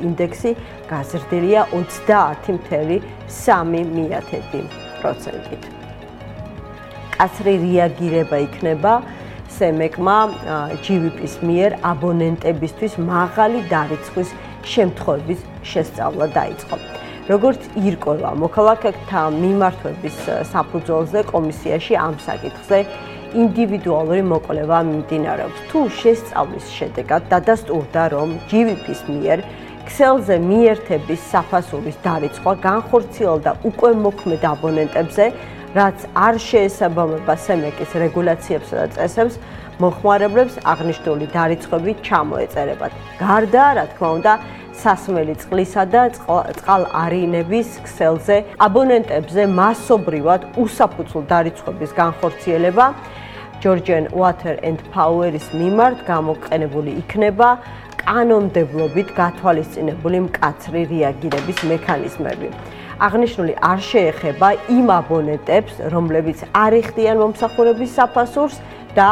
ინდექსი გაზრდილია 30.3%-ით. კაცრი რეაგირება იქნება სემეკმა GVP-ის მიერ აბონენტებისთვის მაღალი დარიცხვის შემთხვევების შესწავლა დაიწყო. როგორც ირკვევა მოქალაქეთა მიმართვების საფუძველზე კომისიაში ამ საკითხზე ინდივიდუალური მოკვლევა მიმდინარეობს. თუ შესწავლის შედეგად დადასტურდა, რომ GVP-ის მიერ ქსელზე მიერთების საფასურის დარიცხვა განხორციელდა უკვე მოქმედ აბონენტებზე, რაც არ შეესაბამება სემეკის რეგულაციებსა და წესებს, მოხმარებლებს აღნიშნული დარიცხვები ჩამოეწერებათ. გარდა, რა თქმა უნდა, სასმელი წყლისა და წყალარინების ქსელზე აბონენტებზე მასობრივად უსაფუძვლო დარიცხვების განხორციელება Georgian Water and Power-ის მიმართ გამოყენებული იქნება კანონმდებლობით გათვალისწინებული მკაცრი რეაგირების მექანიზმები. აღნიშნული არ შეეხება იმ აბონენტებს, რომლებიც არ იხდიან მომსახურების საფასურს და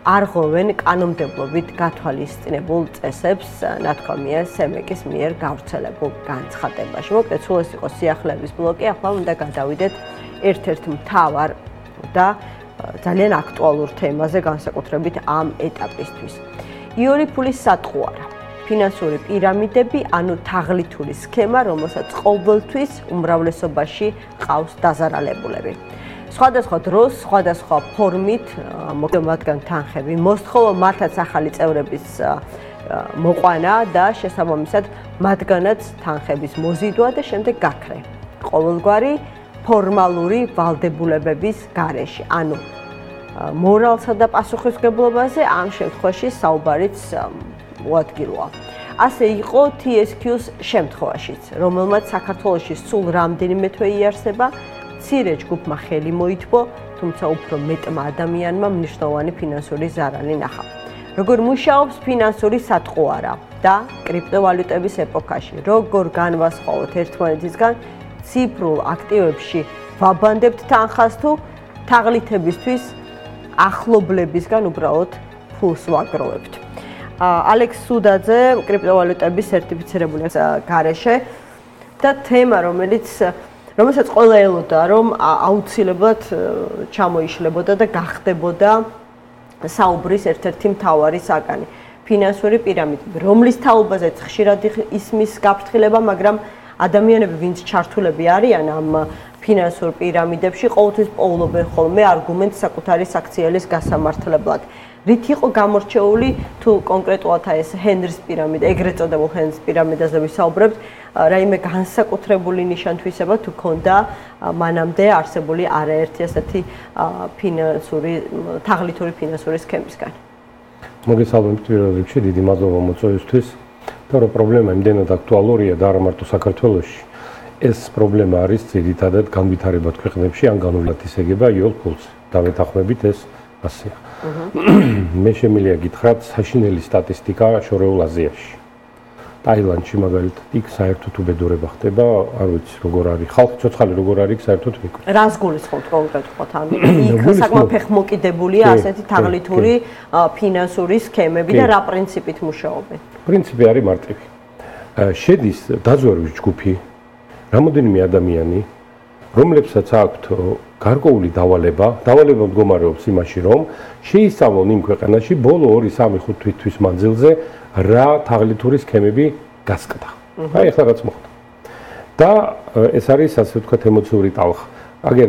არ ღვევენ კანონმდებლობით გათვალისწინებულ წესებს, ნათქვამია სემეკის მიერ გავრცელებულ განცხადებაში. მოკლედ, სულ ეს იყო სიახლეების ბლოკი, ახლა უნდა გადავიდეთ ერთ-ერთ მთავარ და ძალიან აქტუალურ თემაზე, განსაკუთრებით ამ ეტაპისთვის. იური ფულის სატყუარა. ფინანსური პირამიდები, ანუ თაღლითური სქემა, რომელსაც ყოველთვის უმრავლესობაში ყავს დაზარალებულები. სხვადასხვა დროს, სხვადასხვა ფორმით მათგან თანხები მოსთხოვა, მათაც ახალი წევრების მოყვანა და შესაბამისად მათგანაც თანხების მოზიდვა და შემდეგ გაქრე. ყოველგვარი ფორმალური ვალდებულებების გარეშე, ანუ მორალსა და პასუხისმგებლობაზე ამ შემთხვევაში საუბარიც უადგილოა. ასე იყო TSQ-ს შემთხვევაშიც, რომელმაც საქართველოში სულ რამდენიმე თვე იარსება, მცირე ჯგუფმა ხელი მოითბო, თუმცა უფრო მეტმა ადამიანმა მნიშვნელოვანი ფინანსური ზარალი ნახა. როგორ მუშაობს ფინანსური სატყუარა და კრიპტოვალუტების ეპოქაში, როგორ განვასხვაოთ ერთმანეთისგან ციფრულ აქტივებში ვაბანდებთ თანხას თუ თაღლითებისთვის ახლობლებისგან უბრალოდ ფულს ვაგროვებთ. ალექს სუდაძე, კრიპტოვალუტების სერტიფიცირებული გარეშე და თემა, რომელსაც ყველა ელოდა, რომ აუცილებლად ჩამოიშლებოდა და გახდებოდა საუბრის ერთ-ერთი მთავარი საგანი. ფინანსური პირამიდები, რომლის თაობაზეც ხშირად ისმის გაფრთხილება, მაგრამ ადამიანები, ვინც ჩართულები არიან ამ ფინანსურ პირამიდებში, ყოველთვის პოულობენ ხოლმე არგუმენტს საკუთარი საქციელის გასამართლებლად. რით იყო გამორჩეული თუ კონკრეტულად ეს ჰენრის პირამიდა, ეგრეთ წოდებულ ჰენრის პირამიდაზე ვისაუბრებთ, რაიმე განსაკუთრებული ნიშან-თვისება თუ ქონდა მანამდე არსებული არაერთი ასეთი თაღლითური ფინანსური სქემისგან. მოგესალმებით პირველ რიგში, დიდი მადლობა მოწვევისთვის. და რომ პრობლემა იმდენად აქტუალურია და არა მარტო საქართველოში, ეს პრობლემა არის ძირითადად განვითარებად ქვეყნებში ან განვლად ისეგება იოლ ფულს. დავეთანხმებით ეს ასეა. მე შემიძლია გითხრათ საშინელი სტატისტიკა შორეულ აზიაში. ტაილანდში მაგალითად იქ საერთოდ უბედურება ხდება, არ ვიცი როგორ არის ხალხი ცოცხალი როგორ არის საერთოდ მეკ. რას გულისხმობთ კონკრეტულად ამ? იქ საკმაოდ ფეხმოკიდებულია ასეთი თაღლითური ფინანსური სქემები და რა პრინციპით მუშაობენ? პრინციპი არის მარტივი. შედის დაზვერვის ჯგუფი, რამოდენიმე ადამიანი, რომლებსაც აქვთ გარკვეული დავალება მდგომარეობს იმაში, რომ შეისწავლონ იმ ქვეყანაში ბოლო 2-3-5 თვის მანძილზე რა თაღლითური სქემები გასკდა. აი ახლა რაც მოხდა. და ეს არის ასე ვთქვათ ემოციური ტალღა. აგერ